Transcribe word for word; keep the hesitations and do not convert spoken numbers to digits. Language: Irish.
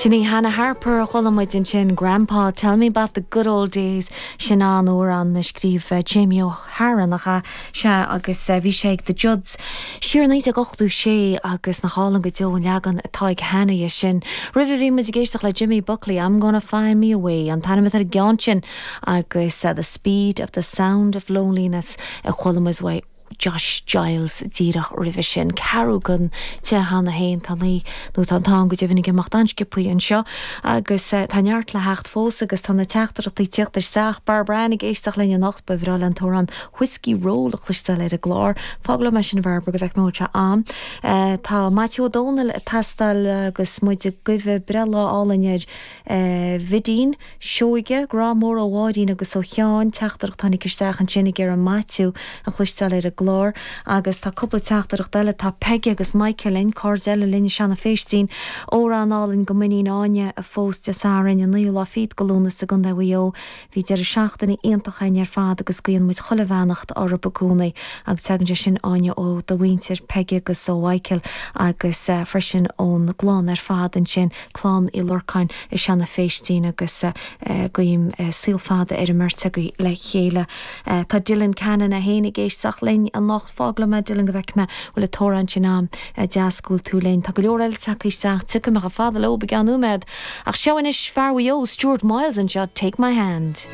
Sin í Hannah Harper a chuala muid ansin Grandpa tell me about the good old days sin an amhrán a scríobh uh, Jamie O'Hara nach ea sea agus uh, bhí sé ag The Judds siar naoi déag ochtó sé agus nach álainn go deo an leagan atá ag Hannah é sin. Roimhe bhí muid ag éisteacht le Jimmy Buckley I'm gonna find me a way an t-ainm ar an gceann sin agus uh, the speed of the sound of loneliness a chuala muid uaidh Josh Giles díreach roimhe sin ceathrú don a haon tá naoi nó tá tá go deimhin ag imeacht an-sciobtha anseo agus uh, tá neart le theacht fós agus tá na teachtaireachtaí ag teacht isteach Barbara ag éisteacht linn anocht ba bhreá léi an t-amhrán Whiskey Roll a chloisteáil ar an gclár Fág me sin Barbara go bheith mó am. Uh, tá Matthew O'Donnell ag teastáil agus muid ag guí breithlá álainn ar uh, Vidín, Seoige, grá mór ó Mháirín agus ó Sheán teachtaireacht tháinig isteach ansin ag iarraidh Matthew a chloisteáil ar an gclár agus tá cúpla teachtaireacht eile tá Peggy agus Michael linn cairde eile linn Seanadh Féistín amhrán álainn do m'iníon Áine a phós Dé Sathairn an naoú lá fichead de Lúnasa i gContae Mhaigh Eo bhí deireadh seachtaine iontach againn ar fad agus guíonn muid chuile bheannacht orthu i gcónaí agus tagann sé sin Áine ó do mhuintir Peggy agus ó Michael agus uh, freisin ón gclann ar fad ansin clann Uí Lorcáin i Seanadh Féistín agus uh, guím uh, saol fada ar an mbeirt agaibh le chéile. Uh, tá Dylan Cannon a héana géisteach linn anocht fág liom Dylan go bhfeicfidh mé bhfuil an t-amhrán sin agam deas go bhfuil tú linn Tá go leor eile tagtha isteach tiocfaidh mé chomh fada leo i gceann nóiméad ach seo anois fear Mhaigh Eo Stuart Miles anseo take my hand.